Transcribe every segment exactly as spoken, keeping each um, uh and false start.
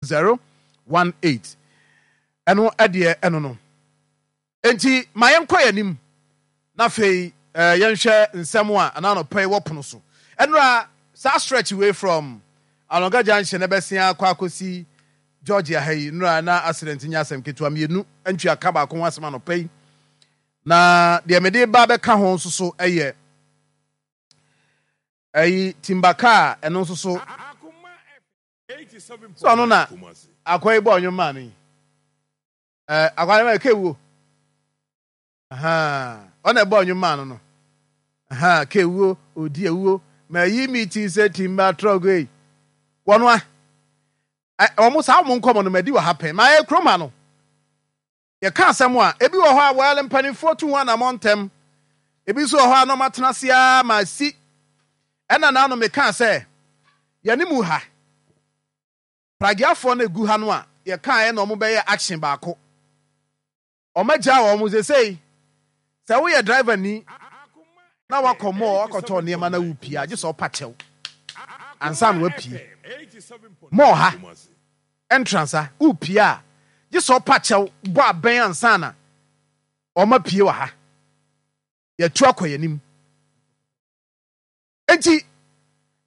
zero one eight. Ɛno ɛdeɛ ɛno no. Enti ma yɛnkɔ yɛn anim na afei eh, yɛnhwɛ nsɛm a anaa anɔpa yi wɔ pono so. Ɛnora saa stretch wei from Alonga Junction ɛbɛsen akɔ akɔsi Georgia ha yi, nnora na accident nyɛ asɛm ketewa. Mmienu ntwi aka baako ho asɛm anɔpa yi, na deɛ mede ba bɛka ho nso so ɛyɛ ɛyi timber car. Ɛno nso so sɛ ɔno na akɔ yi bɔ ɔnwom maa no yi, ɛɛ akɔ yi ma kewuo, ɔna ɛbɔ ɔnwom maa no no kewuo odi ewuo ma yi mi ti sɛ timber truck yi wɔn a wɔn saa wɔn nkɔmɔ no ma di wɔ ha pɛn ma yɛ kurom ha no. Yɛka asɛm a ebi wɔ hɔ a wɔyɛ mpanimfoɔ tu ho anammɔ ntɛm, ebi nso wɔ hɔ a na wɔn atena ase ara ma si. Ɛna naano meka sɛ yɛne mu ha pragiafoɔ no egu ha no a yɛka yɛ na wɔn bɛyɛ action baako, wɔn agya wɔn sesei sɛ woyɛ driver ni na wakɔ mall wakɔtɔ nneɛma na wopie agye sɛ ɔpa kyɛw ansa na wapie mall ha entrance a wopie a gye sɛ ɔpa kyɛw bɔ abɛn ansa na ɔma pie wɔ ha. Yɛtu akɔ yɛn anim nti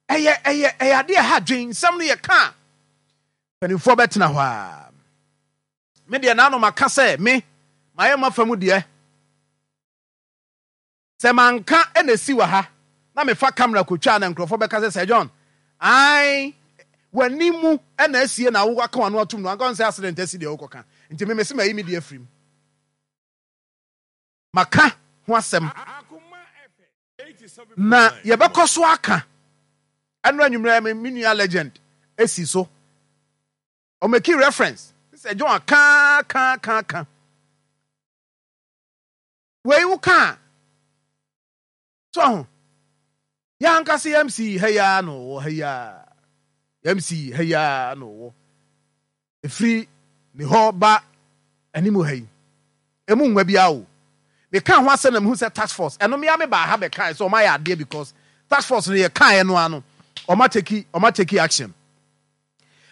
ɛyɛ ɛyɛ ɛyɛ adeɛ ɛha dwen. Nsɛm no yɛ ka mpanimfoɔ bɛtena hɔ a, me deɛ naano maka sɛ me mayɛ ma fa mu deɛ sɛ manka ɛna esi wɔ ha na mefa camera kotwa na nkurɔfoɔ bɛka sɛ sɛ John ae w'ani mu ɛna asie na wowaka w'ano atom no anka sɛ accident asi deɛ wokɔka. Nti me mese mayi me deɛ afirim, maka ho asɛm na yɛbɛkɔ so aka. Ɛno anwummerɛ me me nua Legend esi so ɔmake reference sɛ John aka ka ka ka wei wo ka so ho. Yɛ ankasa yɛ M C ha yi ara na ɔwɔ ha yi ara, M C ha yi ara na ɔwɔ efiri ne hɔ ba anim ha yi emu nwa bi awo. Meka ho asɛm na mehu sɛ task force ɛno mmea me baa ha bɛka sɛ ɔma yɛ adeɛ because task force no yɛ kaeɛ no ano ɔma take ɔma take action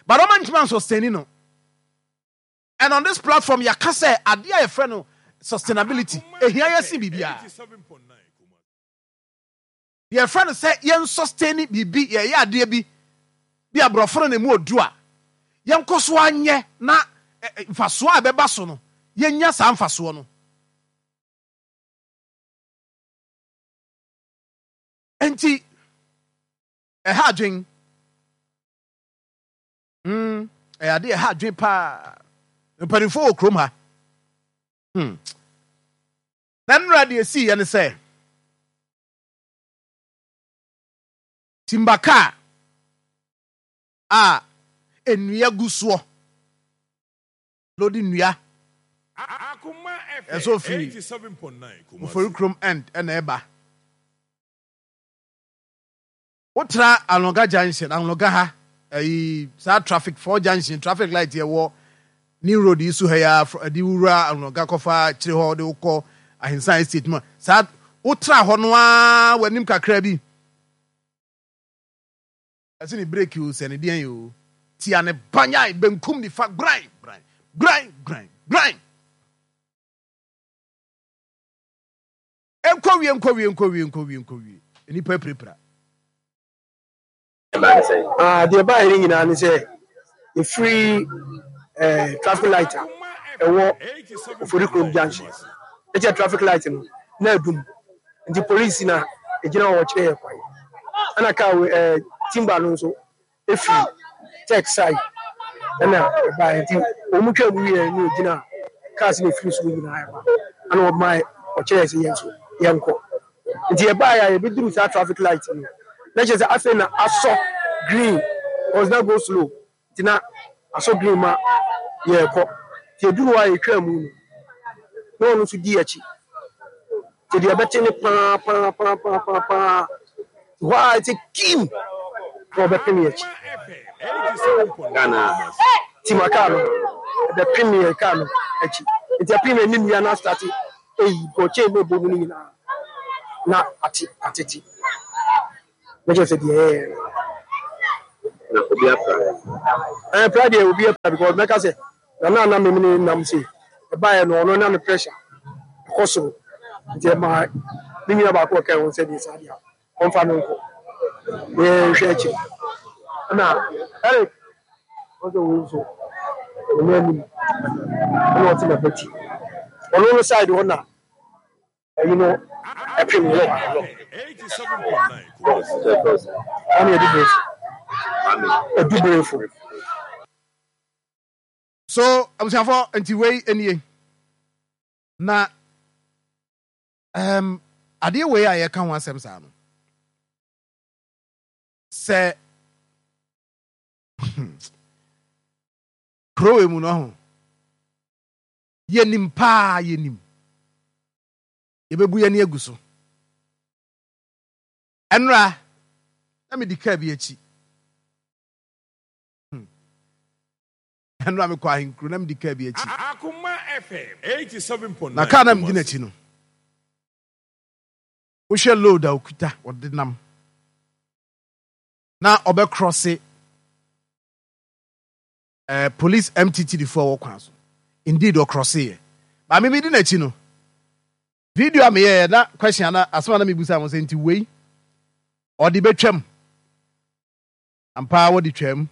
but ɔma ntoma sustain no. And on this platform yɛaka sɛ adeɛ a yɛfrɛ no sustainability ehia yɛ si biribiara. Yɛfrɛ no sɛ yɛn sustain biribi, yɛyɛ adeɛ bi bi aborɔfo no na emu odu a yɛnkɔ so anyɛ na mfasoɔ a ɛbɛba so no yɛnya saa mfasoɔ no. Nti ɛha adwen mm ɛyɛ adeɛ ɛha adwen paa. Mpanimfoɔ wɔ kurom ha hmm na nnura deɛ esi yɛ ne sɛ timber car a nnua gu soɔ lodi nnua ɛsɛ ofiri Ofori Kurom end ɛna ɛba wotra Anloga Junction, Anloga ha ɛyi saa traffic four junction traffic light yɛ wɔ new road yi so ha yi a ɛde wura Anloga kɔfa akyire hɔ de wokɔ Ahensan Estate mu saa wotra hɔ no ara w'anim kakra bi ɛsɛ ne brake o sɛ ne deɛn o tia ne banyan benkum nifa gran gran gran gran gran nkɔ wie nkɔ wie nkɔ wie nkɔ wie nkɔ wie nipa apirapira. Ah, deɛ ɛbaeɛ no nyinaa ne sɛ ɛfiri eh, traffic light a ɛwɔ Ofori Kurom Junction ɛkyɛ traffic light no na adum nti polisi na ɛgyina hɔ wɔkyerɛ yɛ kwan ɛna kaa wei eh, timber no nso ɛfiri tech side ɛna ɛbaeɛ nti wɔn mu twa mu wieɛ ne ɛgyina cars na ɛfiri soro nyinaa ɛba ɛna wɔma ɔkyerɛ sɛ yɛn nso yɛnkɔ. Nti yɛbaeɛ a yɛbɛduru saa traffic light no na kyerɛ sɛ afei na asɔ green cause na go slow nti na asɔ green ma yɛrekɔ. Nti yɛduru hɔ a yɛtwaa mu no na ɔno nso di akyi nti deɛ ɛbɛte ne paa paa paa paa paa paa hɔ a ɛsɛ kim na ɔbɛpem yɛ akyi timber kaa no ɛbɛpem yɛ kaa no akyi. Nti ɛpem yɛ ne nnua no astart eyi bɔkyɛn mu ɛbɔ mu no nyinaa na ate atete na kyerɛ sɛ deɛ ɛyɛ no. Na obi apra? Ɛɛ, pra deɛ, obi apra, because mɛka sɛ nana na memene nam se ɛbaeɛ no, ɔno na ne pressure ɛkɔ soro, nti ɛma me nua baako ɔka ho sɛ deɛ saa deɛ ɔmfa no nkɔ na yɛnhwɛ akyiri. Ɛna Eric ɔsɛ wei nso ɔno anim ɛna ɔte n'abati, ɔno no side hɔ na ɛyi no ɛpem lɔ. Sɛ ɛfrɛ sɛ Ɔne Adubrefo. Maame. Adubrefo. So abusuafo, nti wei nie na um, adeɛ wei a yɛka ho asɛm saa no sɛ kuro wei mu no ho, yɛnim paa, yɛnim yɛbɛbu yɛni agu so. Ɛnora na medi kaa bi akyi. Hmm. Ɛnora mekɔ ahenkuro na medi kaa bi akyi. Akuma F M eighty-seven point nine. Na kaa na medi n'akyi no, wohwɛ load a okuta, ɔde nam na ɔbɛkrɔse eh, police M T T D foɔ a wɔ kwan so. Indeed, ɔkrɔse yɛ maame mi di n'akyi no. Video a meyɛɛ na question ana asɛm a na mebusa mo sɛ, nti wei ɔde bɛtwam ampa? Wɔde twam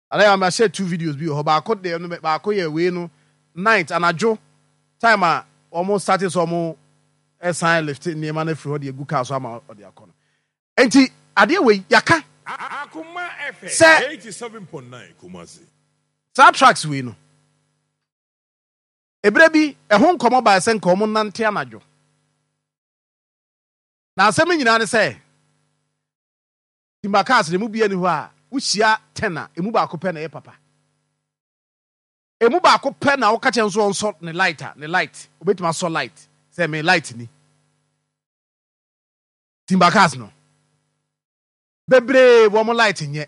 ana? Yɛ mahyɛ two videos bi wɔ hɔ. Baako deɛ no, baako yɛ wei no, night, anadwo time a wɔn start sɛ wɔn ɛsan lift nneɛma no afiri hɔ de egu car so ama ɔde akɔ no. Nti adeɛ wei yaka Akuma F M Sɛ- eighty-seven point nine Kumasi. Saa trucks wei no, ebere bi ɛho nkɔmɔ baa sɛ nka wɔn nante anadwo, na asɛm no nyinaa ne sɛ timber cars na emu bi ani hɔ a wohyia ten a, emu baako pɛ na ɛyɛ papa. Emu baako pɛ na wɔka kyɛn nso ɔnsɔ ne light a, ne light obetumi asɔ light sɛ me light ni. Timber cars no bebree wɔn light nyɛ,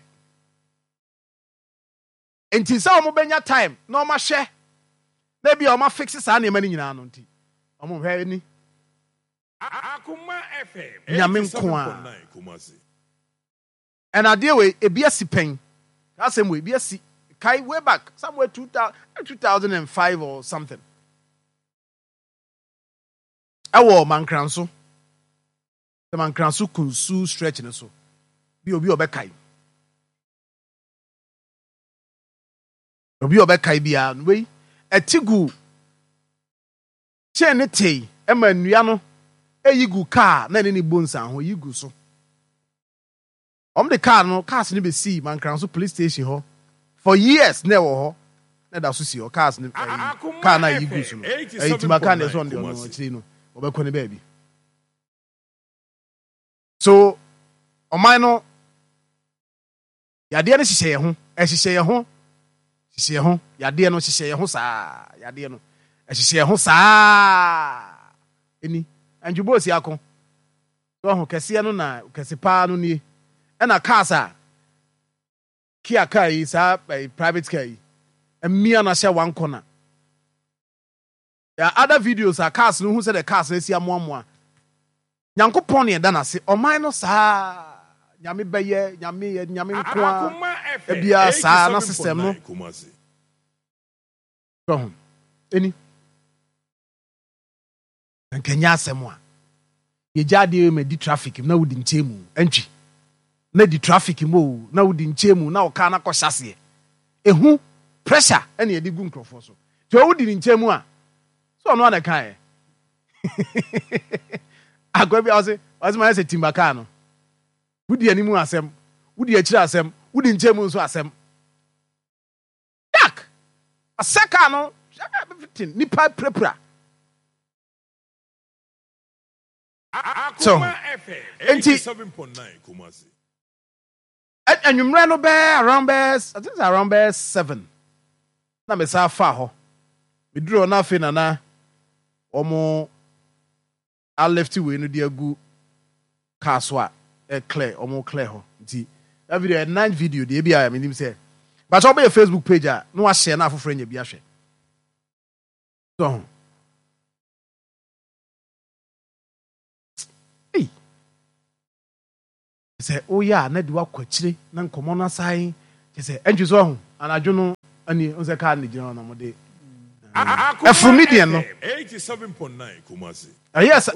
nti sɛ wɔn bɛnya time na wɔn ahwɛ na ebi a wɔn afix saa nneɛma no nyinaa no, nti wɔn hwɛ ni. Akuma F M Nyame nko a. eighty-seven point nine Kumasi. Ɛna adeɛ wei ebi asi pɛn. Saa asɛm wei ebi asi kai way back somewhere two thousand two thousand and five or something, ɛwɔ Mankranso, sɛ Mankranso Kunsu stretch no so bi. Obi a ɔbɛkae, obi a ɔbɛkae biara no, wei ɛti gu chain ne tei ɛma nnua no eyi gu kaa na ɛne ne bu nsa ho yi gu so. Wɔn de kaa no, cars no bɛsii Mankranso police station hɔ for years na ɛwɔ hɔ na ɛda so si hɔ. Cars no ɛyi kaa na ɛyi gu so no, ɛyi timber kaa na ɛsɛ ɔno deɛ, ɔno akyire no ɔbɛkɔ ne baabi so. Ɔman no yadeɛ no hyehyɛ yɛn ho, ɛhyehyɛ yɛn ho, hyehyɛ yɛn ho. Yadeɛ no hyehyɛ yɛn ho saa, yadeɛ no ɛhyehyɛ yɛn ho saa. Ɛni Antwibo osi ako so ɔho kɛseɛ no na kɛse paa no nie. Ɛna cars a Kia car yi, saa ɛyi private car yi, mmea na hyɛ one corner. There are other videos a cars no hu sɛ the cars no asi amoamoa. Nyankopɔn ne ɛda n'ase. Ɔman no saa, Nyame bɛyɛ, Nyame yɛ, Nyame nko a. Akuma F M Ebia saa na system no eighty-seven point nine Kumasi. Ho ɛni nkɛnyɛ asɛm a yɛgya adeɛ ma di traffic mu na wodi nkyɛn mu ɛntwi na di traffic mu o, na wodi nkyɛn mu na ɔkaa na kɔhyɛ aseɛ ehu pressure ɛna yɛde gu nkurɔfoɔ so. Nti ɔwodi ne nkyɛn mu a so ɔno ana kan yɛ akwa bi a ɔse ɔse ma yɛ sɛ timber car no, wodi anim asɛm, wodi akyire asɛm, wodi nkyɛn mu nso asɛm. Yak asɛ car no, everything, nipa pirapira. So, Akuma F M enti- eighty-seven point nine Kumasi. Ɛ- anwummerɛ no bɛɛ around bɛɛ, I think it's around bɛɛ seven na mesa fa hɔ. Meduru hɔ na afei nana wɔn alift wei no de agu car so a ɛ clear, wɔn clear hɔ. Nti that video ɛ nine video deɛ, ebi a menim sɛ bàtà ɔbɛyɛ Facebook page a na wahyɛ na afoforɔ anya bi ahwɛ so ho. Ei, Sɛ woyɛ a, na de wakɔ akyire na nkɔmmɔ no asan kyɛ sɛ ɛntwi so ɔho anadwo no ani n sɛ kaa no gyina hɔ na mode ɛforo median no. eighty-seven point nine Kumasi. Ɛyɛ sɛ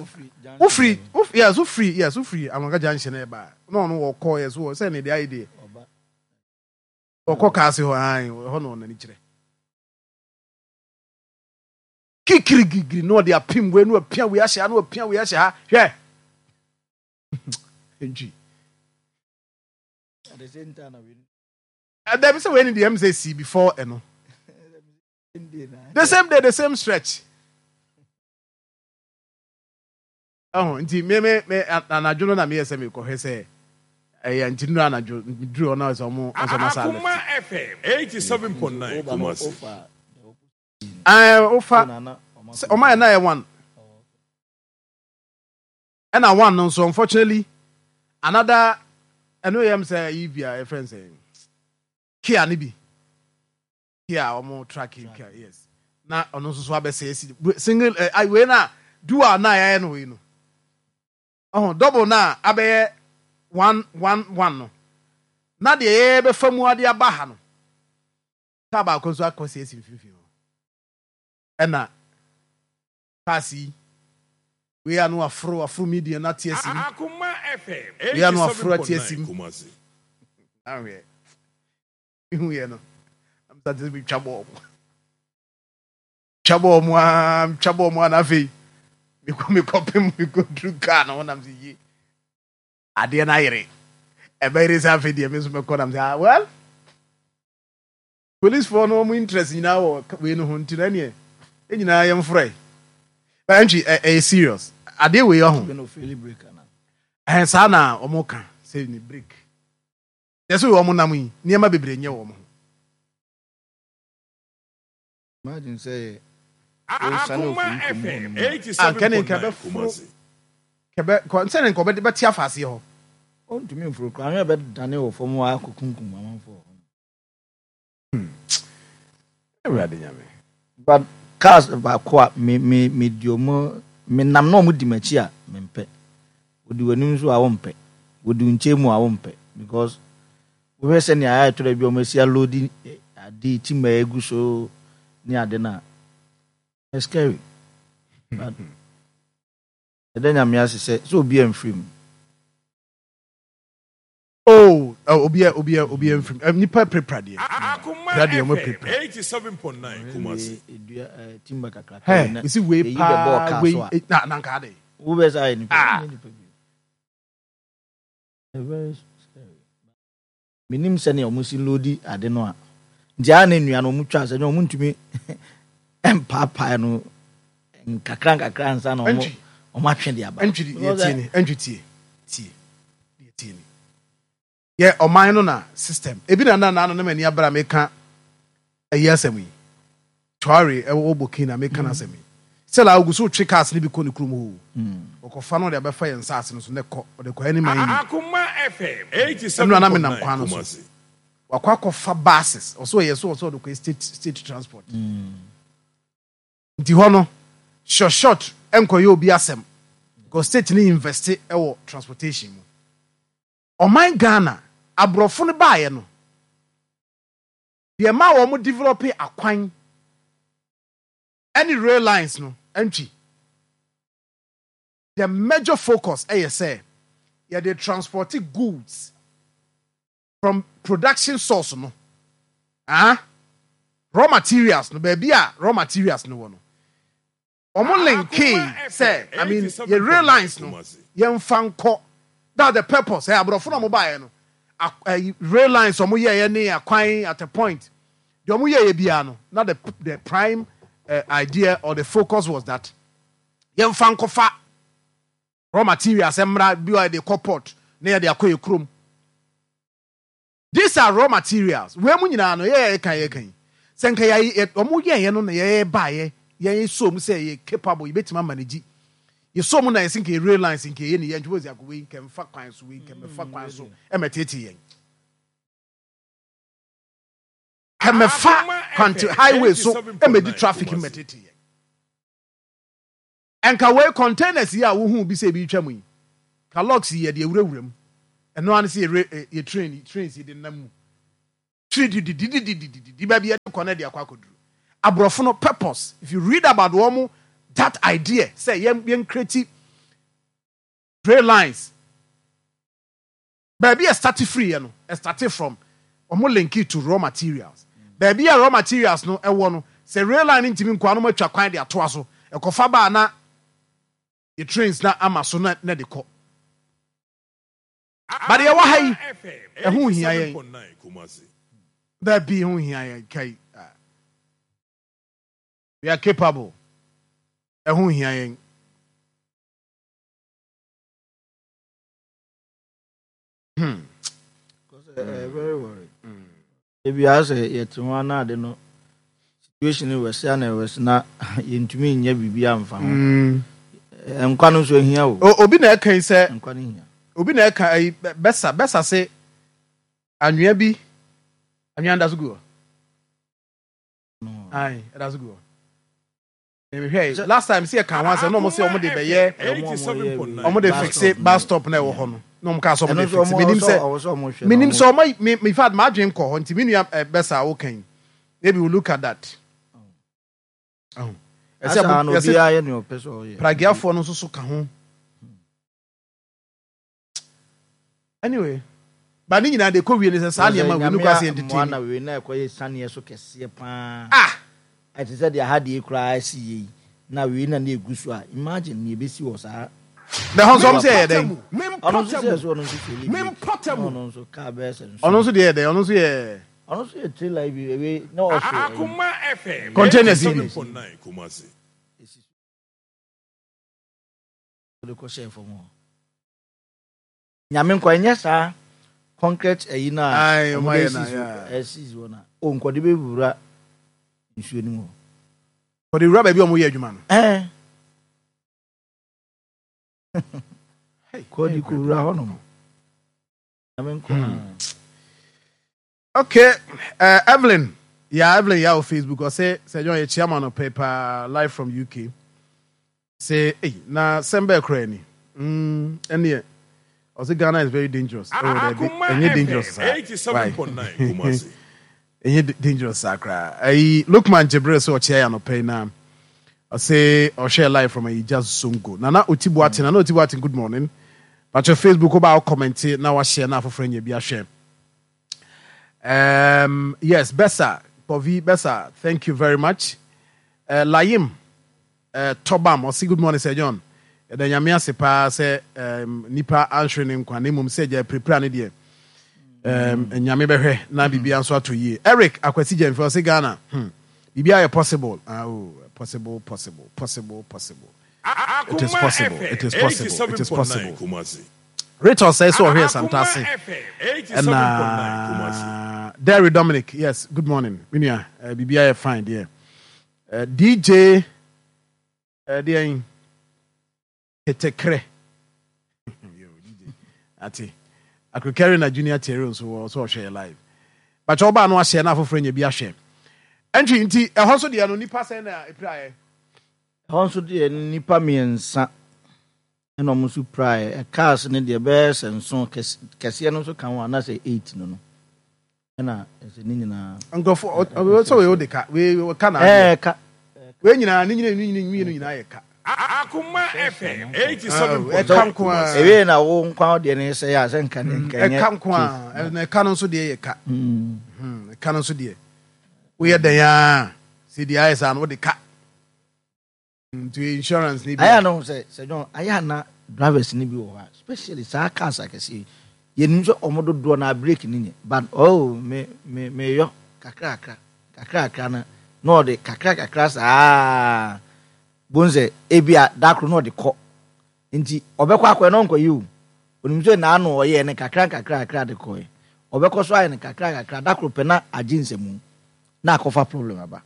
wofiri, yes, wofiri, yes, wofiri Anwanga Junction ɛba na ɔno wɔkɔ, yes, wɔ sɛ ne deɛ ayɛ deɛ ɔkɔ kaa se hɔ ae hɔ na ɔnani kyerɛ kikirigigiri na ɔde apem wei na wapia wei ahyɛ ha na wapia wei ahyɛ ha. Hwɛ, ntwi ɛdɛm sɛ wei ni deɛ ɛm sɛ si before ɛno, the same day, the same stretch ɛho. Nti me me me anadwo no na meyɛ sɛ mekɔhwɛ sɛ ɛyɛ, nti nura anadwo duru hɔ na sɛ ɔmo ɔsɛ ɔmo asa Akuma left. F M eighty-seven point nine Kumasi. Ɛɛ, wofa sɛ ɔmo ayɛ na yɛ one ɛna one no nso, unfortunately, another ɛno yɛ m sɛ yi bi a yɛfrɛ n sɛ Kia ne bi, Kia ɔmo truck Kia, yes, na ɔno nso so abɛsɛ esi single ɛ wei na dual na yɛayɛ no wei no ɔho double na abɛyɛ one one one no, na deɛ yɛbɛfa mu ade aba ha no, kaa baako nso akɔ sɛ esi mfimfini hɔ, ɛna cars yi wei ano aforo aforo median na te asi mu. Akuma F M Wei ano aforo ate asi eighty-seven point nine mu. Kumasi. Ahwɛ, ihu yɛ no amsa te sɛ metwa bɔɔl mu, twa bɔɔl mu aa, twa bɔɔl mu aa, na afei mekɔ mekɔpem mekɔduru kaa no ho nam sɛ yie adeɛ no ayere ɛbɛyere sɛ afei deɛ me nso mɛkɔ nam sɛ, ah, well, policefoɔ no ɔmo interest nyinaa wɔ wei no ho, nti na ɛneɛ ɛ nyinaa yɛmforɛ ɛntwi. Ɛyɛ serious adeɛ wei ɔho. Ɛhɛn, saa na ɔmo ka sɛ ne brake yɛ sɛ ɔmo nam yi nneɛma bebree nyɛ wɔn ho. Imagine sɛ Akuma F M Ah, nkɛne nka eighty-seven point nine bɛforo Kumasi. Kɛbɛ kɔ nsɛne nka ɔbɛde bɛte afa aseɛ hɔ. Ɔntumi mforo koraa, ahwɛ bɛdane wɔ fam hɔ akɔkunkum amanfoɔ. Awurade Nyame. But cars baako a me me me di ɔmo, me nam na ɔmo di m'akyi a mempɛ. Wodi w'anim nso a wompɛ, wodi wo nkyɛn mu a wompɛ, because wohwɛ sɛnea ayɛ tɔrɔ bi a ɔmo asi aload ade timber egu so ne ade na it's scary. But ɛdɛ Nyame ase sɛ sɛ obi amfiri mu. Oh, obi a obi a obi amfiri mu. Nipa pirapira deɛ. Akuma Pira deɛ ɔmo F M pirapira. eighty-seven point nine Kumasi. Edua ɛɛ timber kakraka Hɛ, na esi wei eyi bɛbɔ paa ɔkaa wei so a eh, na na nka ade. Wobɛ sɛ ayɛ nipa Ah. nyɛ nipa bi. Ɛyɛ very scary. Menim sɛnea ɔmo si load ade no a, nti a na nnua no ɔmo twa sɛ nyɛ ɔmo ntumi mpaapae no nkakra nkakra ansa na ɔmo Ɛntwi. ɔmo atwe de aba. Ɛntwi deɛ Because, tie ni, ɛntwi tie tie deɛ tie ni yɛ ɔman no na system ebi na na na na m'ani abere a meka ɛyi asɛm yi, Traore ɛwɔ Burkina, meka na asɛm yi sɛla ogu so twe cars ne bi kɔ ne kurom hɔ. Mm. Ɔkɔfa no, ɔde abɛfa yɛn nsaase no so ne kɔ, ɔde kɔ ɛne man yi. Akuma F M Ɛnu anam nam eighty-seven point nine kwan no so. Kumasi. Wakɔ akɔfa buses, ɔsɛ ɔyɛ so, ɔsɛ ɔde kɔ state state transport. Mm. Nti hɔ no short short ɛnkɔyɛ obi asɛm because state ne invest ɛwɔ transportation mu. Ɔman Ghana, aborɔfo no baeɛ no deɛ ma wɔn develop akwan ɛne rail lines no, ɛntwi the major focus ɛyɛ sɛ yɛde transport goods from production source no, ah, raw materials no, baabi a raw materials no wɔ no, ɔmo link sɛ, I mean, yɛ rail lines no yɛmfa nkɔ. That's the purpose. Ɛ aborɔfo na ɔmo baeɛ no, ak- ɛyi, rail lines ɔmo yɛɛ ne akwan at a point deɛ ɔmo yɛɛ biara no, na the the prime uh, idea or the focus was that yɛmfa nkɔfa raw materials mmra bi a yɛde kɔ port na yɛde akɔ yɛ kurom. These are raw materials. Wei mu nyinaa no yɛ yɛ kan yɛ kan sɛ nka yɛ yɛ ɔmo yɛyɛ no na yɛyɛ baayɛ yɛn so mu sɛ yɛ capable, yɛbɛtumi ama ne gyi yɛ so mu na yɛsi nka yɛ rail lines nka yɛ ne yɛ ntoma si akɔ wei nka mfa kwan so, wei nka mɛfa kwan so ɛmɛ tete yɛn kɛmɛfa kwanti highway so ɛmɛ di traffic mɛ tete yɛn. Nka wei containers yi a wohu bi sɛ ebi twa mu yi ka locks yi yɛde ewurawura mu. Ɛno ano sɛ yɛ yɛ train trains yi de nam mu tiri dididididididi baabi yɛde kɔ no de akɔ akɔduru. Aborɔfo no purpose, if you read about wɔn, that idea sɛ yɛn yɛn create rail lines, baabi a start free yɛ no, start from wɔn link it to raw materials. Baabi a raw materials no ɛwɔ no, sɛ rail line ntumi nkɔ ano, atwa kwan de atoa so ɛkɔfa baa na yɛ trains na ama so na na de kɔ. But yɛwɔ ha yi, ɛho hia yɛn. Baabi ho hia yɛn kai. We are capable. Ɛho hia yɛn. Hmm. Uh, very worried. Ebi asɛ yɛte ho anaade no, situation wɔ sɛ ana ɛwɔ sɛ na yɛntumi nyɛ biribi amfa ho. Nkwa no nso ehia o. Obi na ɛka yi sɛ nkwa no hia. Obi na ɛka ayi, bɛsa bɛsa se anwea bi, anwea da so gu hɔ. Ayi, ɛda so gu hɔ. Mehwɛ last time sɛ yɛka ho asɛm na ɔmo sɛ ɔmo de bɛyɛ, ɔmo de fixe bus stop na ɛwɔ hɔ no, na ɔmo kaa sɛ ɔmo de fixe. Menim sɛ menim sɛ ɔmo me, in fact, maa dwen kɔ hɔ, nti me nua bɛsa a wokan yi, maybe we look at that. Ɛsɛ obiara yɛ nea ɔpɛ sɛ ɔyɛ. Pragiafoɔ no nso so ka ho. Anyway, ba ne nyinaa de kɔ wie ne sɛ saa nneɛma wei no kɔ ase entertain. Na wei na ɛkɔyɛ saneɛ so kɛseɛ paa. Ah, ɛte sɛ deɛ ha deɛ koraa asi yie yi na wei na ne egu so a, imagine nea ebesi wɔ saa. Na ɛhɔ nso ɔmo sɛ yɛ dɛn? Ɔno nso sɛ so, ɔno nso feli brake, ɔno nso kaa bɛyɛ sɛ nso. Ɔno nso deɛ yɛ dɛn? Ɔno nso yɛ. Ɔno nso yɛ trailer yi bi, ewe na ɔso. Akuma F M. Containers yi bi. Kumasi. Esi so de kɔ hyɛ fam hɔ. Nyame nkɔ ɛnyɛ saa concrete ɛyi na Aye, ɔmo ɔmo de ayɛ esi na, so yeah. ɛsi so na o nkɔde bɛ wura nsuo no mu hɔ. Ɔde wura baabi a ɔmo yɛ adwuma no. Ɛɛ, kɔde kɔ wura hɔ nom. Nyame nkɔ. Okay, uh, Evelyn. Yeah, Evelyn, yeah, on Facebook. I say, say, John, chairman of paper live from U K. Say, hey, na sembe kreni. Mm, and I say Ghana is very dangerous. Oh, Akuma ɛnyɛ dangerous F M saa. eighty-seven point nine Kumasi. Ɛnyɛ dangerous saa koraa. Ayi, Lukman Jibril sɛ ɔkyea yɛ anɔpɛ yi na ɔsɛ ɔhwɛ live from Ayigya Zongo. Nana Oti Boateng, Nana Oti Boateng, good morning. Patro Facebook, wo ba wo comment na wahyɛ na afoforɔ anya bi ahwɛ. Um, yes, Bessa, Povi Bessa, thank you very much. Uh, Layim, uh, Tobam, ɔse good morning, Sir John. Yɛda Nyame ase paa sɛ um, nipa anhwere ne nkwa na mmom sɛ gya pirapira ne deɛ, um, Nyame bɛhwɛ na biribia nso ato yie. Eric Akwasi Gyamfi ɔse Ghana, hmm, biribia yɛ possible. Ah, oh, possible, possible, possible, possible. It is Akuma possible, F M it is possible, it is eighty-seven point nine possible. Kumasi. Rachel sɛ sɛ ɔhwɛ Akuma Santase. F M eighty-seven point nine Kumasi. Ɛna Derry Dominic, yes, good morning. Menua, uh, biribia yɛ fine deɛ. Uh, D J uh, deɛ Ketekrɛ. Yo, D J. Ate. Akrokari na Junior Terry nso wɔ so ɔhwɛ yɛ live. Bakyɛ ɔbaa no ahyɛ na afoforɔ nya bi ahwɛ. Ɛntwi nti ɛhɔ nso deɛ no, nipa sɛn na epiraeɛ? Ɛhɔ nso deɛ, nipa mmiɛnsa ɛna ɔmo nso piraeɛ. Cars ne deɛ bɛyɛ sɛ nson, kɛse kɛseɛ no nso ka ho anaasɛ eight no no ɛna ɛsɛ ne nyinaa. Nkurɔfoɔ ɔ- sɛ wei wode ka, wei ka na adeɛ. Ɛɛ, ka. Wei nyinaa ne nyina ne nyina mmienu nyinaa yɛ ka. Akuma F M Ah, ɛka eighty-seven point nine nko ara. Kumasi. Ewie na wo nkwa deɛ ne sɛ yɛ a sɛ nka ne nka nyɛ Ɛka nko a, ɛna ɛka no nso deɛ yɛ ka. Mm. Hmm, ɛka no nso deɛ woyɛ dɛn a sɛ deɛ ayɛ saa no wode ka, nti insurance ni bi. Ayɛ ano sɛ sɛ John, ayɛ ana drivers ni bi wɔ hɔ a, especially saa cars akɛseɛ yi, yɛnim sɛ ɔmo dodoɔ na brake ni nyɛ, but oh, me me meyɔ kakrakra kakrakra na na ɔde kakra kakra saa bon sɛ ebi a dakoro na ɔde kɔ, nti ɔbɛkɔ akɔɛ na ɔnkɔ yi o, onim sɛ n'ano ɔyɛ ne kakra kakra kakra de kɔɛ, ɔbɛkɔ so ayɛ ne kakra kakra, dakoro pɛ na agye nsɛmu na akɔfa problem aba.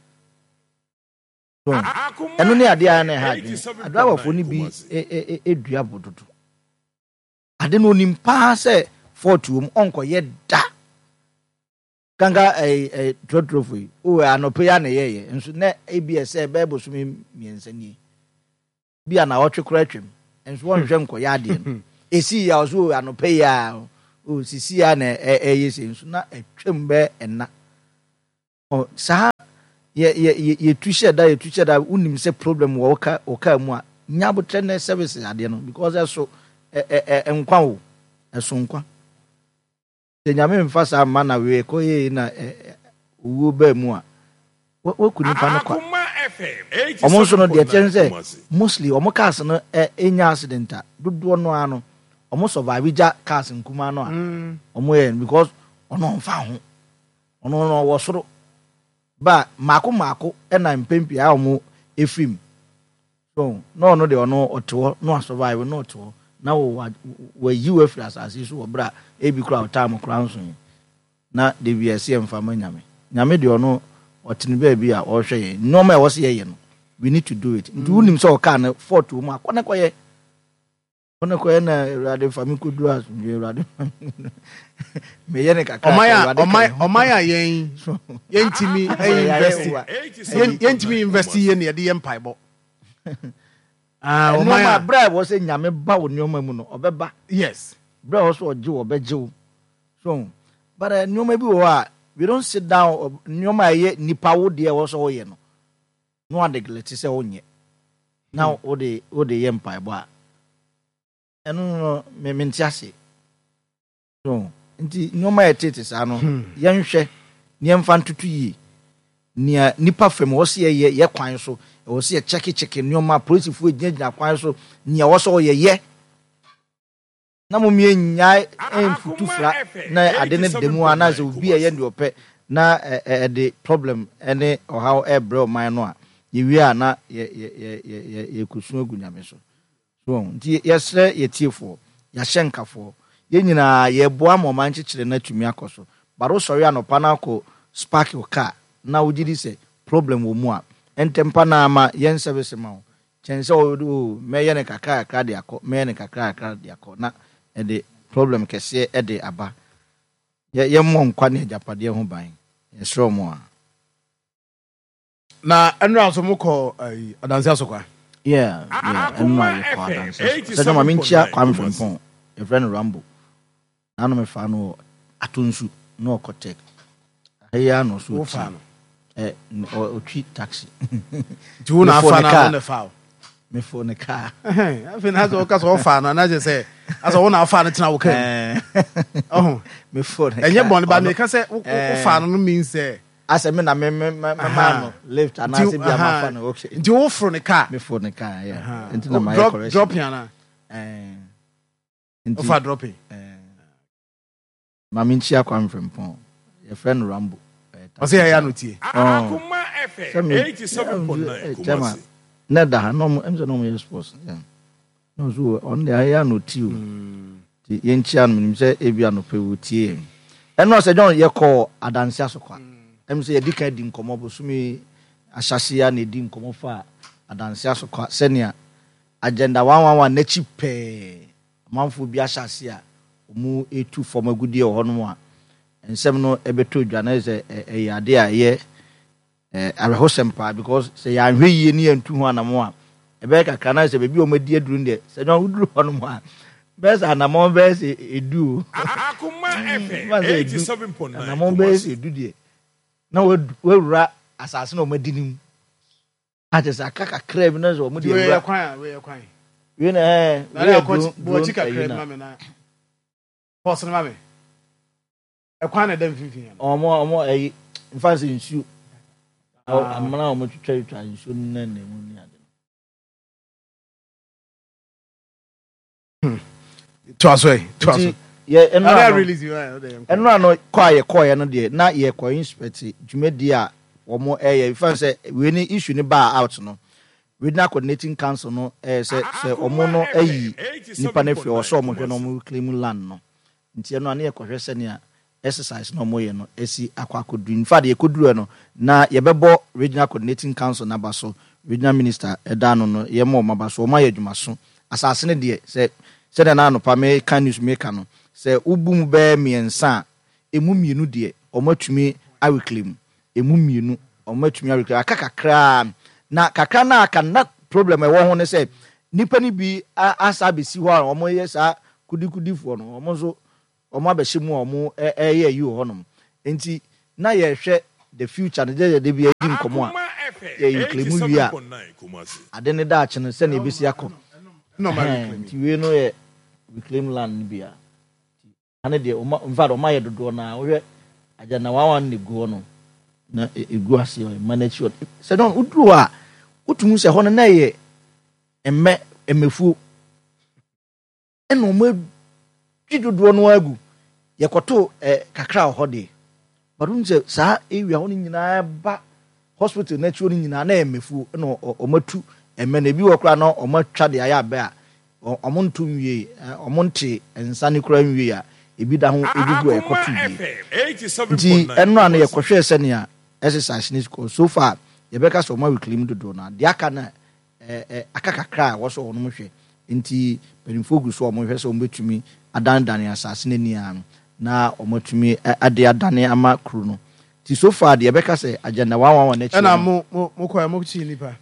So, ɛno ne adeɛ a na ɛha adwene adrawafoɔ no bi ɛ- ɛ- ɛ- ɛdua bo dodo ade no, onim paa sɛ fault wɔ mu, ɔnkɔyɛ da kanka. Ɛɛ ɛɛ trɔtrɔfo yi o, anɔpɛ yi a na ɛyɛyɛ nso na ebi ɛsɛ ɛbɛyɛ bosome mmiɛnsa nie bi a na ɔtwe koraa atwam nso wɔnhwɛ nkɔyɛ adeɛ no esi yi a ɔso o, anɔpɛ yi a O sisi a na ɛyɛ sɛ nso na atwam bɛɛ ɛna. Ɔ saa yɛ yɛ yɛ yɛtu hyɛ da, yɛtu hyɛ da. Wonim sɛ problem wɔ wo ka wo kaa mu a, nya abotrɛ na service adeɛ no, because ɛso ɛ ɛ ɛ nkwa o, ɛso nkwa. Sɛ Nyame mfa saa mma na wei ɛkɔ yie na ɛ ɛ owuo baa mu a, waku nipa no kwa. Ɔmo nso no, deɛ kyɛn sɛ mostly ɔmo cars no ɛ enya accident a, dodoɔ no ara no ɔmo survive gya cars nkumaa no a ɔmo yɛ no, because ɔno ɔnfa ho, ɔno no ɔwɔ soro ba mmaako mmaako ɛna mpɛn a ɔmo efiri mu. So na ɔno deɛ, ɔno ɔte hɔ na wasurvive na ɔte hɔ na wɔ wayi wo afiri asase yi so wɔ berɛ a ebi kora ɔtaa mo kora nso yi na de bi ɛsɛ yɛmfa ma Nyame. Nyame deɛ, ɔno ɔte ne baabi a ɔrehwɛ yɛn. Nneɛma a ɛwɔ sɛ yɛyɛ no, we need to do it. Nti wonim sɛ ɔkaa no fault wɔ mu a, kɔ ne kɔyɛ, kɔ ne kɔyɛ na Awurade fa me kɔduru asomdwe. Awurade fa me, meyɛ ne kakra. Ɔman a Awurade ka ɔman yɛn ho. Ɔman a yɛn yɛntumi invest, yɛn yɛntumi invest yɛ ne yɛde yɛ mpaebɔ. Ah, ɔman nneɛma a berɛ a ɛwɔ sɛ Nyame ba wo nneɛma mu no, ɔbɛba. Yes berɛ a ɛwɔ sɛ ɔgye wo, ɔbɛgye wo. So but uh, nneɛma bi wɔ hɔ a we don't sit down. uh, nneɛma a ɛyɛ nipa wo deɛ ɛwɔ sɛ woyɛ no na wa neglect sɛ wonyɛ na wode wode yɛ mpaebɔ a, ɛno no me mente ase. So nti nneɛma a ɛtete saa no, yɛnhwɛ nneɛmfa ntoto yie. Nea nipa fam ɛwɔ sɛ yɛyɛ yɛ kwan so, ɛwɔ sɛ yɛkyɛkekyɛke nneɛma, apolisifoɔ gyinagyina kwan so, nea ɛwɔ sɛ ɔyɛ yɛ na mo mie nyae mfutu fra na ade ne da mu anaasɛ obi a ɛyɛ deɛ ɔpɛ na ɛ- ɛ- ɛde problem ne ɔhaw ɛbrɛ ɔman no a, yɛwie a na yɛ- yɛ- yɛ- yɛ- yɛ- yɛkɔsu agu Nyame so. So nti yɛsrɛ yɛtiefoɔ, yɛahyɛ nkafoɔ, yɛn nyinaa yɛboa ma ɔman kyekyere no atumi akɔ so. But wosɔre anɔpa no akɔ spark wo car na wogye di sɛ problem wɔ mu a, ɛntɛmpa no ama yɛn service ma wo kyɛn sɛ wo o mɛyɛ no kakra kakra de akɔ, mɛyɛ no kakra kakra de akɔ na ɛde problem kɛseɛ ɛde aba. Yɛ yɛmmɔ nkwa ne agyapadeɛ ho ban, yɛsrɛ mo a. Na ɛnura nso mokɔ ayi Adansi Asokwa. Yeah, yeah, ɛno a yɛkɔ Adansi Asokwa sɛ dɔma menkyia Kwame Frimpɔn, yɛfrɛ no Rambo. Nano mefa no wɔ Atonsu na ɔkɔ Tech ɛyɛ ano so. Wofa no? Ɛ ɔ- ɔtwi taxi. Nti wo na Mefo afa ne no car. a, wo na fa o? Mefo ne kaa. Afei na asɛ wɔka sɛ ɔfa no anaasɛ sɛ asɛ wo na afa no tena wo kaa mu ɔho. Mefo ne Ɛnyɛ kaa. bɔne ba Ɔno- meka sɛ wo- wo- Eh. wofa no no means sɛ Asɛ me na me me me me Aha. maa no lift anaasɛ bi a aha. mafa no, okay. Nti woforo ne kaa. Mefo ne kaa, yeah. Aha. Nti na mayɛ Drop- correction. dropping ana? Eh, nti Wofa dropping. Eh, ma menkyia Kwame Frimpɔn, yɛfrɛ no Rambo. Eh, Ɔsɛ yɛyɛ ano tie. Akoma Sɛ F M me- eighty-seven point nine eh, chairman, Kumasi. Na da ha na ɔmo ɛm sɛ na ɔmo yɛ sports, yeah. Na ɔso ɔno deɛ ayɛ ano ti o, nti yɛnkyia no. Menim sɛ ebi anɔpɛ wɔ tie yɛn. Ɛno sɛ John, yɛkɔ Adansi Asokwa. Ɛm sɛ yɛdi kan di nkɔmmɔ bosome ahyase a na yɛdi nkɔmmɔ fa Adansi Asokwa sɛnea Agenda one one one n'akyi pɛɛ amanfoɔ bi ahyɛ ase a ɔmo etu fam agudeɛ wɔ hɔnom a nsɛm no ɛbɛtɔ dwa na sɛ ɛ- ɛyɛ ade a ɛyɛ ɛ, awerɛhosɛm paa, because sɛ yɛanhwɛ yie ne yɛntu ho anamo a, ɛbɛyɛ kakra na sɛ baabi a ɔmadi aduru no deɛ, sɛ John woduru hɔnom a, bɛyɛ sɛ anammɔn bɛyɛ sɛ edu o. Akoma F M Mfa sɛ edu eighty-seven point nine anammɔn bɛyɛ sɛ Kumasi. edu deɛ na wadu- wawura asase na ɔmadi no mu akyɛ sɛ aka kakra bi na sɛ ɔmo Nti de wei yɛ awura kwan a, wei yɛ kwan. Wei na ɛɛ Na wei ne yɛ akɔ drone bɔ akyi drone kakra ɛyi bi na ma me na pɔs no ma me ɛkwan na ɛda mfimfini no. ɔmo ɔmo ɛyi nfa sɛ nsuo Ah. amena a ɔmo twitwa twitwa nsuo no na na mu ne ade. Toa so ɛ, toa so. Nti yɛ ɛnura Ɛna no release yi ɛ, ɔde yɛn kɔ. Ɛnura no kɔ a yɛkɔɔyɛ no deɛ, na yɛkɔ inspect dwumadie a wɔn ɛyɛ nfa sɛ wei ne issue ne baa out no, Regional Coordinating Council no ɛyɛ sɛ sɛ ɔmo no ayi nipa no afiri hɔ sɛ ɔmo hwɛ na ɔmo reclaim land no. Nti ɛno a ne yɛkɔhwɛ sɛnea exercise na ɔmo yɛ no esi akɔ akɔduru. In fact, yɛkɔduru no na yɛbɛbɔ Regional Coordinating Council n'aba so, Regional Minister ɛda no no yɛma ɔmo aba so. Ɔmo ayɛ adwumaso. Asase no deɛ, sɛ sɛdeɛ na anɔpa meka news meka no sɛ wobu mu bɛyɛ mmiɛnsa a, emu mmienu deɛ ɔmo atumi areclaim, emu mmienu ɔmo atumi areclaim, aka kakraa. Na kakra na aka no, na problem a ɛwɔ ho ne sɛ nipa no bi a- asa abɛsi hɔ a ɔmo yɛ saa kudikudifoɔ no, ɔmo nso Ɔmo abɛhyɛ mu a ɔmo ɛyɛ ayi wɔ hɔnom. Nti na yɛhwɛ the future no, gyɛ yɛde bi adi nkɔmɔ a yɛ reclaim wie a, ade ne daakye no sɛnea ebesi akɔ. Nti wei no yɛ reclaim land no bi a ane deɛ ɔma, in fact, ɔma yɛ dodoɔ na wohwɛ Agenda one one ne gu hɔ no na egu ase ɔma n'akyi hɔ sɛ dɔn woduru hɔ a, wotumi sɛ hɔ no na yɛ mmɛ mmɛfuo, ɛna ɔmo adwi dodoɔ no agu. Yɛkɔto ɛ kakra wɔ hɔ deɛ, but wohu sɛ saa area hɔ no nyinaa ba hospital n'akyi hɔ no nyinaa na yɛ mmɛfuo, ɛna ɔmo atu mmɛ no. Ebi wɔ koraa na ɔmo atwa de ayɛ abɛ a ɔmo nto nwie, ɔmo nte nsa ne koraa nwie a, ebi da ho egugu a yɛkɔto bie. Nti ɛno a no yɛkɔhwɛ sɛnea exercise ne kɔ. So far yɛbɛka sɛ ɔmo reclaim dodoɔ no, deɛ aka na ɛɛ aka kakra a wɔsɔ wɔn hwɛ. Nti mpanimfoɔ gu so a wɔhwɛ sɛ wɔbɛtumi adanedane asase n'ani ano na wɔatumi ade adane ama kuro no. Nti so far deɛ, yɛbɛka sɛ Agenda one one one n'akyi. Ɛna mo mo mo kɔ mo kyi nipa.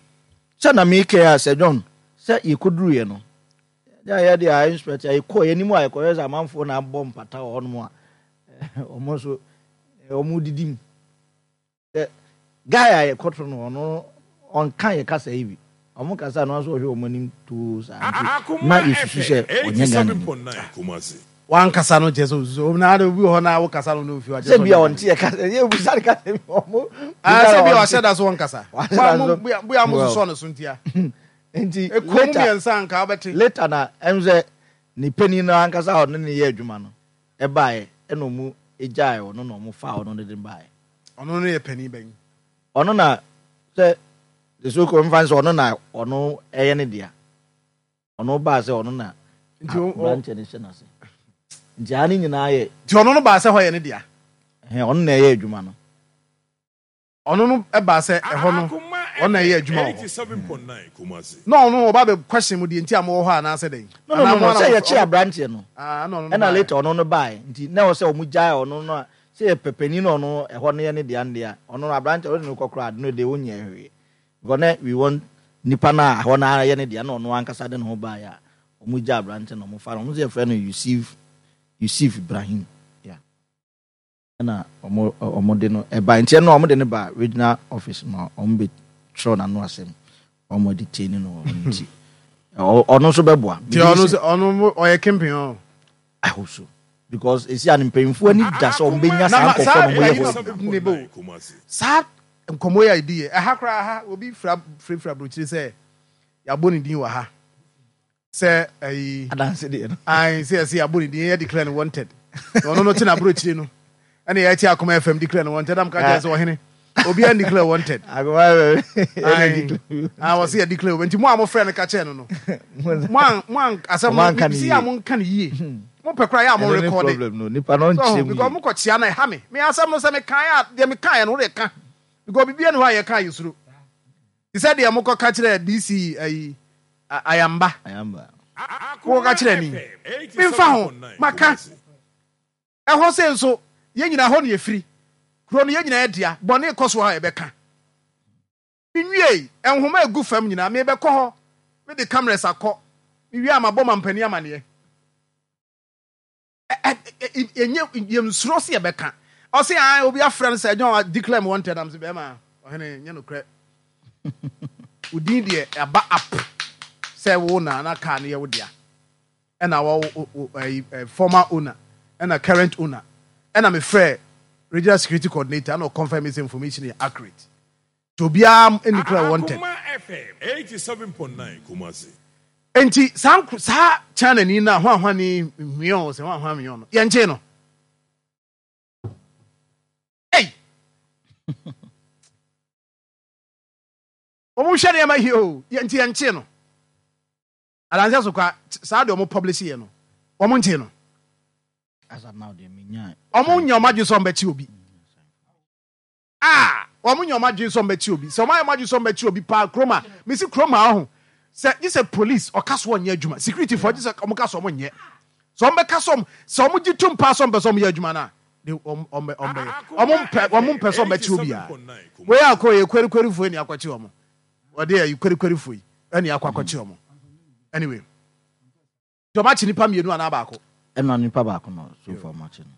Sɛ na mi kɛ a sɛ John sɛ yɛkɔduru yɛ no yɛ yɛ de a inspector yɛkɔ yɛ anim a, yɛkɔyɛ sɛ amanfoɔ na abɔ mpata wɔ hɔnom a wɔn nso wɔn didi mu. Guy a yɛkɔto no, ɔno ɔnka yɛ kasa yi bi, ɔmo kasa no nso ɔhwɛ wɔn anim too saa, nti na yɛsusu sɛ ɔnyɛ Ghana ni. Wankasa no kyerɛ sɛ osusu na ade obi wɔ hɔ na wokasa no na ofi wa. Sɛ bi a ɔnte yɛ kasa, yɛ busa ne kasa bi ɔmo. Sɛ bi a ɔhyɛ da so wɔnkasa bua mo sosɔ ne so ntia. Nti later mmiɛnsa anka wobɛte. Later na ɛm sɛ ne panin no ankasa a ɔne ne yɛ adwuma no ɛbaeɛ, ɛna ɔmo egyae ɔno na ɔmo fa ɔno ne de baeɛ. Ɔno no yɛ panin bɛn? Ɔno na sɛ the so called nfa sɛ ɔno na ɔno ɛyɛ ne dea. Ɔno baa sɛ ɔno na aberanteɛ no hyɛ n'ase, nti ha ne nyinaa yɛ. Nti ɔno no baa sɛ hɔ yɛ ne dea? Ɛhɛn, ɔno na ɛyɛ adwuma no. Ɔno no baa sɛ ɛhɔ no ɔno na ɛyɛ adwuma wɔ hɔ, na ɔno ɔba bɛ question mu deɛ nti a mowɔ hɔ anaasɛ dɛn? No, no, no, no, sɛ yɛkye aberanteɛ no ɛna later ɔno no baeɛ, nti na ɛwɔ sɛ ɔmo gyae ɔno no a sɛ yɛ pɛpɛni na ɔno ɛhɔ no yɛ ne dea no dea. Ɔno no aberanteɛ ɔde no kɔ koraa ade no de ɔnyɛ hwee because na we want nipa no a ɛhɔ no yɛ ne dea, na ɔno ankasa de ne ho baeɛ a ɔmo gya aberanteɛ na ɔmo fa no. Ɔmo sɛ yɛfrɛ no Yusuf Yusuf Ibrahim, yeah. Ɛna ɔmo ɔmo de no ɛba, nti ɛno ɔmo de no ba regional office ma ɔmo bɛ twerɛ n'ano asɛm, ɔmo detain no wɔ hɔ. Nti ɔno nso bɛboa. Nti ɔno nso ɔno ɔyɛ kingpin ɔ. I hope so, because esi a mpanyinfoɔ ani da sɛ ɔmo bɛnya saa nkɔfoɔ na ɔmo yɛ hɔ. Saa nkɔmɔ yi a yɛdi yɛ ɛha koraa ha, obi fira firafira aburokyire sɛ yɛabɔ ne din wɔ ha sɛ ɛyi. Adanse deɛ no. Ayi sɛ yɛsɛ yɛabɔ ne din, yɛ declare no wanted, na ɔno no te na aburokyire no ɛna yɛte Akoma F M declare no wanted. Am ka kyerɛ sɛ ɔhene obiara declare wanted. Akoma F M. Ah, wɔsi yɛ declare nti mo a mo frɛ no ka kyerɛ no no mo an mo an asɛm no si a mo nka ne yie, mo pɛ kora yɛ a mo record. Problem no nipa no nkyerɛ mu. Because mo kɔ kyia na ɛha me me asɛm no sɛ me kan a deɛ me kan yɛ no, o de ka because bibi ɛni hɔ a yɛ kan yɛ suro te sɛ deɛ mo kɔ ka kyerɛ D C ayi Ayamba. Ayamba. Mo kɔ ka kyerɛ ni mi nfa ho maka ɛhɔ sɛ nso yɛn nyinaa hɔ no yɛfiri kuro no, yɛn nyinaa yɛ dea. Bɔne kɔ so a yɛbɛka nwie. Nhoma egu fam nyinaa, mebɛkɔ hɔ, mede cameras akɔ, mewie a mabɔ mampanin amaneɛ. Ɛnyɛ yɛnsuro sɛ yɛbɛka. Ɔse a obi afrɛ no sɛ John declare me wanted. Am sɛ bɛrima ɔhene nyɛ nokorɛ, wo din deɛ ɛba up sɛ wo na na car no yɛ wo dea, ɛna wɔ former owner ɛna current owner. Ɛna mefrɛ regional security coordinator ɛna ɔconfirm sɛ information yɛ accurate, nti obiara ɛni declare wanted. Nti saa saa China ni na hwan ni hwion sɛ hwan hwan hwion no yɛnkyee no. Ei, wɔn hwɛ nneɛma yi o, nti yɛnkyee no. Adanse so kwa saa deɛ wɔn publish yɛ no, wɔn nkyee no. Wɔn nyɛ wɔn adwene sɛ wɔn bɛkye obi a, wɔn nyɛ wɔn adwene sɛ wɔn bɛkye obi. Sɛ wɔn ayɛ wɔn adwene sɛ wɔn bɛkye obi paa kurom a mesi kurom a ɔho sɛ gye sɛ police ɔka so ɔnyɛ adwuma, security fo gye sɛ wɔn ka so wɔn nyɛ sɛ wɔn bɛka so sɛ wɔn gye tum paa sɛ wɔn pɛ sɛ wɔn yɛ adwuma no a de wɔn wɔn wɔn bɛyɛ. Wɔn mpɛ wɔn mpɛ sɛ wɔn bɛkye obi a wei akɔ yɛ kwerikweri fo ɛni akɔkye wɔn, wɔde ɛyi kwerikweri fo yi ɛni akɔ akɔkye wɔn. Anyway, tí wɔn akye nipa mmienu anaa baako. Ɛna nipa baako no so far ɔmo akye no.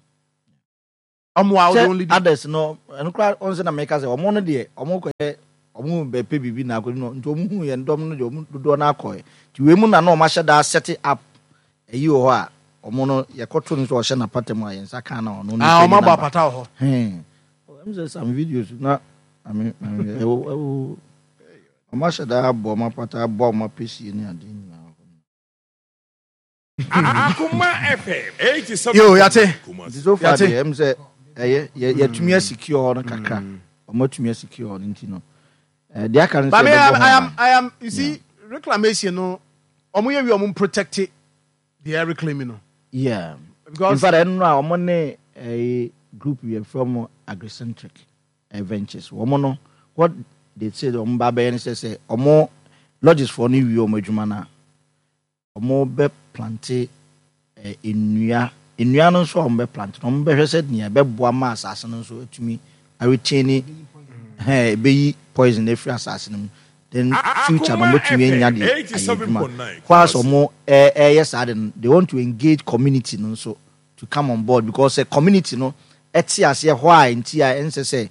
Ɔmo a sɛ ɔde only others no, ɛno koraa ɔn sɛ na meka sɛ ɔmo no deɛ, ɔmo kɔyɛ ɔmo bɛpɛ biribi na akɔdi no, nti ɔmo hu yɛn dɔm no deɛ, ɔmo dodoɔ no akɔɛ. Nti wei mu na na ɔmo ahyɛ daa set up ɛyi wɔ hɔ a ɔmo no yɛkɔto no sɛ ɔhyɛ n'apata mu a yɛn nsa kan na ɔno ah nipa ɔmo ni abɔ naba. Apata wɔ hɔ. Hɛn, ɛmu sɛ some videos na ame ame ɛwɔ ɛwɔ ɔmo ahyɛ daa abɔ ɔmo apata, abɔ ɔmo apɛsie ne ade nyinaa. Akuma F M eighty-seven. Yo, yate. Nti so far Yate. deɛ, ɛmu sɛ ɛyɛ yɛ yɛtumi asecure hɔ no kakra, ɔmo atumi asecure hɔ no, nti no ɛɛ deɛ aka no But sɛ me, I am, yɛbɛbɔ ho I am, ban. I am. You see, reclamation no, ɔmo yɛ wi, ɔmo protect the reclaiming no. Yeah. In Because fact, ɛno no a ɔmo ne ɛyɛ group yɛ from Agricentric eh, Ventures, wɔn no, what they say ɔmo ba bɛyɛ no sɛ sɛ ɔmo lodges foɔ no wie ɔmo adwuma no a, ɔmo bɛ plant ɛ nnua. Nnua no nso a ɔmo bɛ plant no, ɔmo bɛhwɛ sɛ nea ɛbɛboa ma asase no nso atumi aretain, hɛn, ɛbɛyi poison efiri asase no mu, then future no ɔmo atumi anya de ayɛ adwuma. Whilst ɔmo ɛ ɛyɛ saa de no, they want to engage community no nso to come on board, because sɛ community no ɛte aseɛ hɔ a, nti a ɛnsɛ sɛ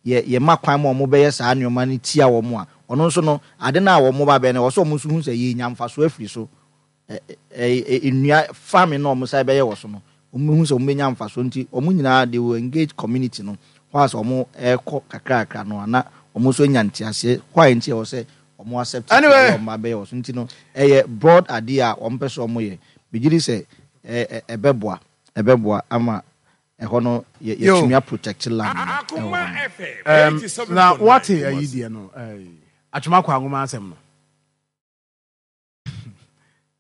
yɛ yɛma kwan ma ɔmo bɛyɛ saa nneɛma no tia wɔn a, ɔno nso no ade no a wɔn ba bɛyɛ no, ɛwɔ sɛ ɔmo nso hu sɛ yɛnya mfaso afiri so. ɛ ɛ ɛ nnua farming na ɔmo san bɛyɛ wɔ so no, ɔmo hu sɛ ɔmo bɛnya mfaso, nti ɔmo nyinaa they will engage community no whilst ɔmo ɛkɔ kakrakra no ana ɔmo nso nya nteaseɛ hɔ a nti ɛwɔ sɛ ɔmo accept. Anyway. Ɛyɛ ɔmo abɛyɛ wɔ so, nti no ɛyɛ broad idea a ɔmo pɛ sɛ ɔmo yɛ. Bigye di sɛ ɛ ɛ ɛbɛboa ɛbɛboa ama ɛhɔ no yɛ Yo. yɛtumi aprotect land no ɛwɔ Akuma hɔ no. F M um, eighty-seven point nine. Na wate ayi deɛ no, ɛɛ, atwoma kɔ anwoma asɛm no.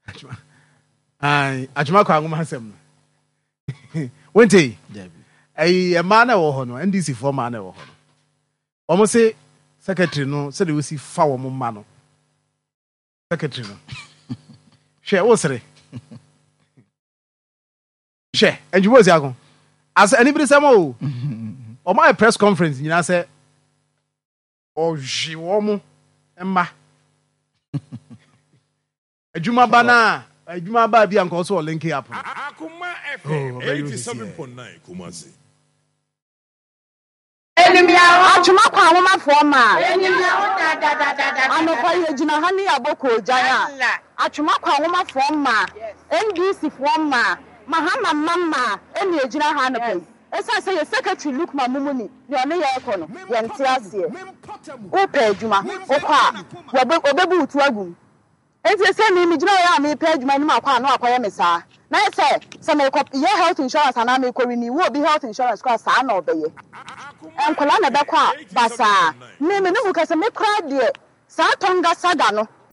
Atwoma- Ayi, atwoma kɔ anwoma asɛm no wente. Dabi. Ɛyi mmaa na ɛwɔ hɔ no, N D C foɔ mmaa na ɛwɔ hɔ no, wɔn se secretary no, sɛdeɛ wosi fa wɔn mma no, secretary no, hwɛ wosere, hwɛ ndwuma osi ako asa anibiri sɛm o. Wɔn ayɛ press conference nyinaa sɛ ɔhwe wɔn mma adwuma ba na adwuma ba bi a nka ɔso wɔ link up no. Akuma Oh, F M very easy. eighty-seven point nine Kumasi. Atwoma kɔ ahomafoɔ ma anɔpa yɛgyina ha ne yɛabɔ koogyan a atwoma kɔ ahomafoɔ ma N D C foɔ ma Mahama mma ma ɛne yɛgyina ha anɔpa yi, ɛsiane sɛ yɛ secretary Lukman Mumuni ne ɔne yɛrekɔ no, yɛnte aseɛ. Wopɛ adwuma wokɔ a, wɔbɛ- wɔbɛbu wo to agu mu. Nti sɛ me megyina hɔ a mepɛ adwuma anim akɔ a, na wakɔyɛ me saa na yɛ sɛ sɛ mekɔ yɛ health insurance anaa mekɔ renew obi health insurance kɔ a, saa na ɔbɛyɛ. Nkɔla na ɛbɛkɔ a basaa me me ne mu kɛsɛ me koraa deɛ, saa Tonga saga no.